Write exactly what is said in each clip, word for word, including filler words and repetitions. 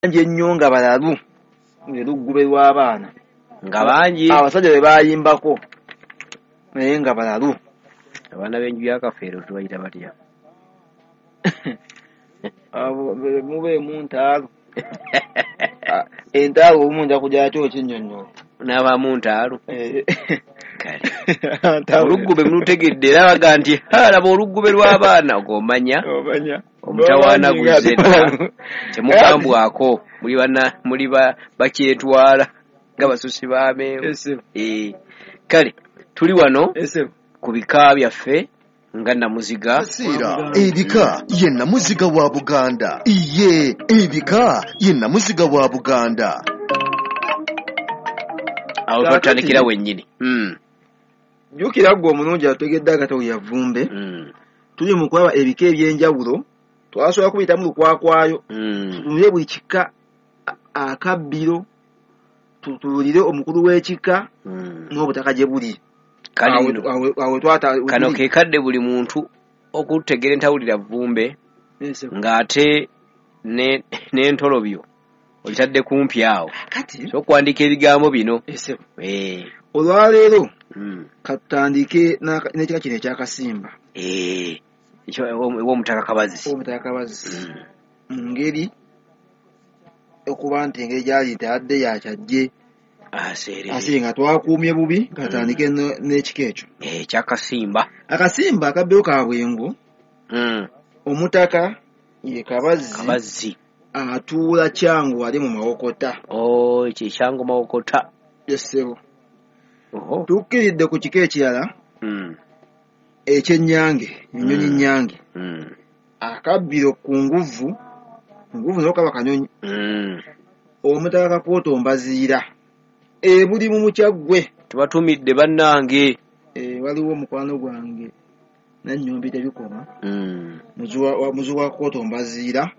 Ennyo nga balalu ne luggube lw'abaana nga bangi abasajja be bayimbako naye nga balalu. Abaana b'enju ya Kafeero tubayita batya? Abo mubeemu ntaalu. Entaalu obumu nja kujja kinnyonnyola. N'abaamu ntaalu. Kale oluggube mulutegedde era baga nti laba oluggube lw'abaana og'omanya omutawaana guzze dda temugambwako muli bana muli bakyetwala nga basusi b'amenvu. Kale tuli wano ku bika byaffe nga Namuziga. Ebika ye Namuziga wa Buganda. Iye ebika ye Namuziga wa Buganda. Awo twatandikira wennyini. Jjukira ggwe omulungi ategedde akatabo yavumbe. Tuli mu kulaba ebika eby'enjawulo twasobola kubiyitamu lukwakwayo. Tutunule buli kika akabbiro, tutuulire omukulu w'ekika n'obutaka gye buli. Kano ke kadde buli muntu okutegeera entawulira vvumbe ng'ate n'entolobyo olitadde kumpi awo. So okuwandiika ebigambo bino. Olwaleero katutandike n'ekika kino eky'Akasimba. Ew'Omutaka Kabazzi. Ow'Omutaka Kabazzi. Mu ngeri okuba nti engeri gy'ali nti adde yakyajje. Aseere nga twakuumye bubi katandike n'ekika ekyo. Eky'Akasimba. Akasimba akabbiro ka Bwengo. Omutaka ye Kabazzi. Kabazzi. Atuula Kyangu ali mu Mawokota. Oh, ekyo Kyangu Mawokota. Yes, ssebo. Tukkiridde ku kika ekirala eky'Ennyange, ennyonyi Nnyange. Akabbiro ku nguvu, nguvu nayo kaba kanyonyi. Omutaka Kakooto Mbaziira. Ebuli mu Mukyaggwe. Tubatumidde bannange. Waliwo mukwano gwange Nannyombi tebikoma. Muzu wa Kakooto Mbaziira.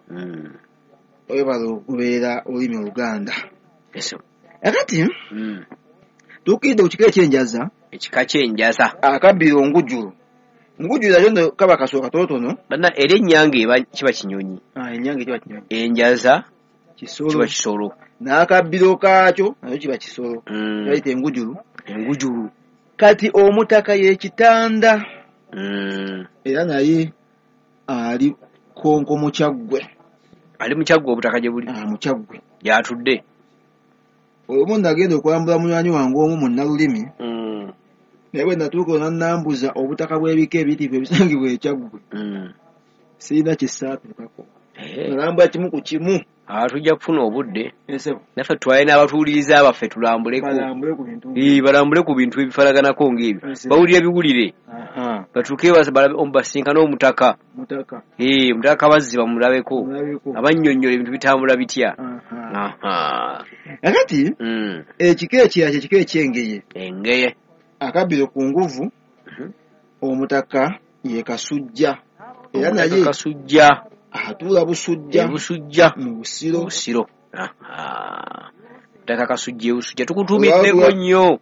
Webale okubeera olulimi Oluganda. Akati tukkiridde ku kika eky'Enjaza. Ekika ky'Enjaza. Akabbiro Ngujulu. Ngujulu nayo nno kaba kasolo katonotono. Banna era Ennyange eba kiba kinyonyi. Ennyange kiba kinyonyi. Enjaza kisolo. Kiba kisolo. N'akabbiro kaakyo nayo kiba kisolo. Bayita Engujulu. Engujulu. Kati omutaka ye Kitanda. Era naye ali Kkonko mu Kyaggwe. Ali mu Kyaggwe obutaka gye buli? Mu Kyaggwe. Gy'atudde. Olumu nagenda okulambula munywanyi wange omu munnalulimi. Naye bwe natuuka n'annambuza obutaka bw'ebika ebiyitirivu ebisangibwa e Kyaggwe. Sirina kye ssaatuukako. Nalambula kimu ku kimu. Tujja kufuna obudde. Naffe tutwale n'abatuwuliriza baffe tulambuleko. Balambule ku bintu ebifaanaganako ng'ebyo. Bawulire biwulire. Batuuke basinkane omutaka. Omutaka Kabazzi bamulabeko. Abannyonnyola ebintu bitambula bitya. Kakati ekika ekirala kye kika eky'Engeye. Engeye. Akabbiro ku nguvu, omutaka ye Kasujja. Era naye Kasujja. Atuula Busujja. Busujja. Mu Busiro. Busiro. Omutaka Kasujja e Busujja tukutumiddeko nnyo.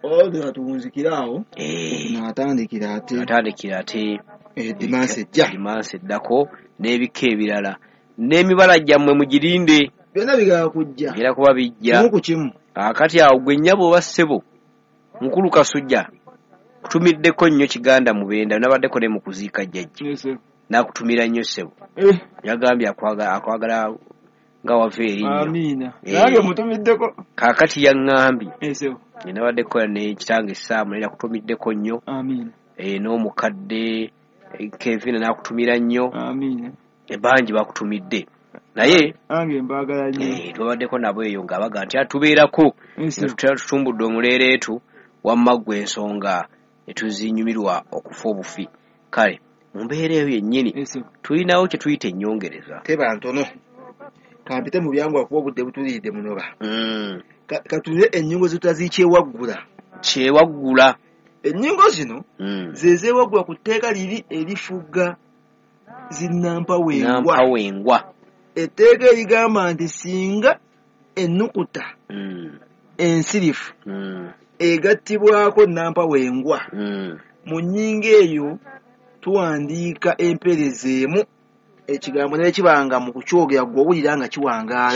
Olwo tuwunzikira awo. N'atandikira ate. Atandikira ate. Edimansi ejja. Edimansi eddako n'ebika ebirala. N'emibala gyammwe mugirinde. Byonna bigala kujja. Bigenda kuba bijja. Kimu ku kimu. Kaakati awo gwe nnyabo oba ssebo Mukulu Kasujja kutumiddeko nnyo Kiganda Mubenda nabaddeko ne mu kuziika jjajja. N'akutumira nnyo ssebo. Yagambye akwagala nga wava erinnyo. Amiina. Nange mutumiddeko. Kaakati yaŋŋambye. Nabaddeko ne kitange Ssaamu naye yakutumiddeko nnyo. Amiina. N'omukadde Kevin n'akutumira nnyo. Amiina. Bangi bakutumidde. Naye nange mbaagala nnyo. Twabaddeko nabo eyo nga baga nti atubeerako. Tutumbudde omuleereetu wamma ggwe ensonga ne tuzinyumirwa okufa obufi. Kale mu mbeera eyo yennyini tulinawo kye tuyita ennyongereza. Teba ntono. Kampite mu byangu akuba obudde butuliridde munoba. Katulire ennyingo zitazikyewaggula. Kyewaggula. Ennyingo zino ze zeewaggula ku tteeka liri erifuga zinnampawengwa. Nampawengwa. Etteeka erigamba nti singa ennukuta ensirifu egattibwako nampawengwa mu nnyingo eyo tuwandiika empeereza emu Ekigambo ne kibanga mu kukyogera gwe owulira nga kiwangaala.